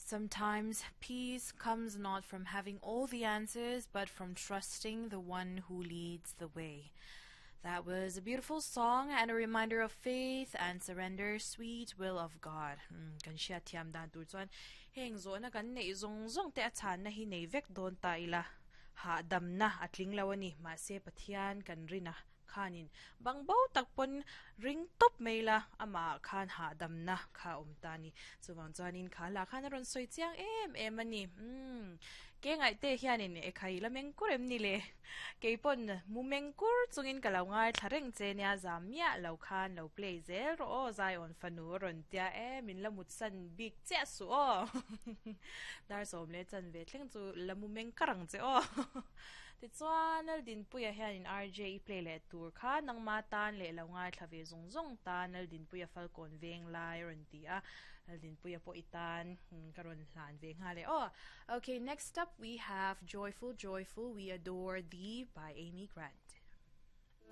Sometimes peace comes not from having all the answers, but from trusting the one who leads the way. That was a beautiful song and a reminder of faith and surrender, sweet will of God. Hmm, kan hriat thiam dan tur chuan heng zawhna kan neih zawng zawng te a chhanna hi nei vek dawn ta ila hahdamna a tling lo a ni. Mahse Pathian kan rin a khanin bang bo tak pawn ring tawp mai la amah khan hahdamna kha a awm ta a ni. Chuvang chuanin kha lah khan a rawn sawi chiang em em a ni. Umm ke ngaihte hianin e khai la meng kur em ni le? Kei pawn mu meng kur chungin ka lo ngaithla reng che nia zam miah lo khan lo play zel rawh aw Zion fanu a rawn tia e min la mutsan bik chiah suh aw dar sawm leh chan ve thleng chu la mu meng kar ang che aw Tichuan Laldinpuia hianin RJ i play leh tur kha nangma tan leh lo ngaithla ve zawng zawng tan Laldinpuia Falkawn veng lai a rawn ti a Laldinpuia pawh i tan ka rawn hlan ve nghal e aw. Okay, next up we have Joyful Joyful We Adore Thee by Amy Grant.